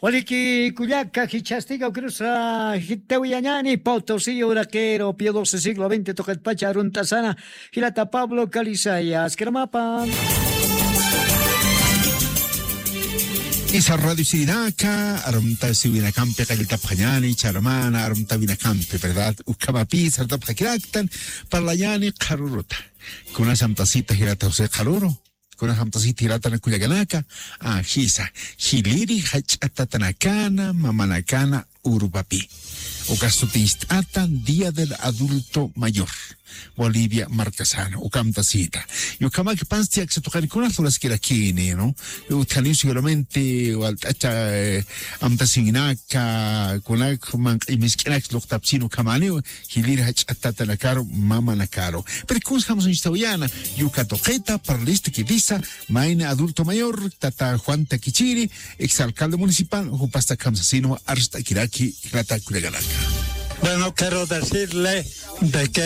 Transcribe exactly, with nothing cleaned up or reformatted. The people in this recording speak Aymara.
Waliki kullaka, jichhastiga ukrusa jitawiyañani Potosí uraqero, Pío doce siglo veinte tuqitpacha arunt'asana, jilata Pablo Calizaya, askramapa. Isa radio sirinaka, arumtasiwinakampi qalltapxañani, charmana, arumtawinakampi, ¿verdad? Ukhamapi sartapxakiraktan, parlañani qharuruta. Kunas amtasita jilata José Qharuru. Kunas amtasita jilata kullakanaka, ajisa, jiliri jach'a tatanakana, mamanakana urupapi. Uka suticht'ata Día del Adulto Mayor. Bolivia markasana, uka amtasita. Yukamak pansti aksatuqani kunas luraskirakini, ¿no? Utjaniw seguramente walt'acha, eh, amtasiwinaka, kunak manq'i misk'inak luqtapsin ukhamaniw, jiliri jach'a tatanakaru, mamanakaru. Pero kunsa jamsuñchtawayana, yuka tuqita, parlista kitisa, mayni adulto mayor, tata Juan Takichiri, exalcalde municipal, jupasta kamsasinwa arst'akiraki, jilata kullakanaka. Bueno, quiero decirle de que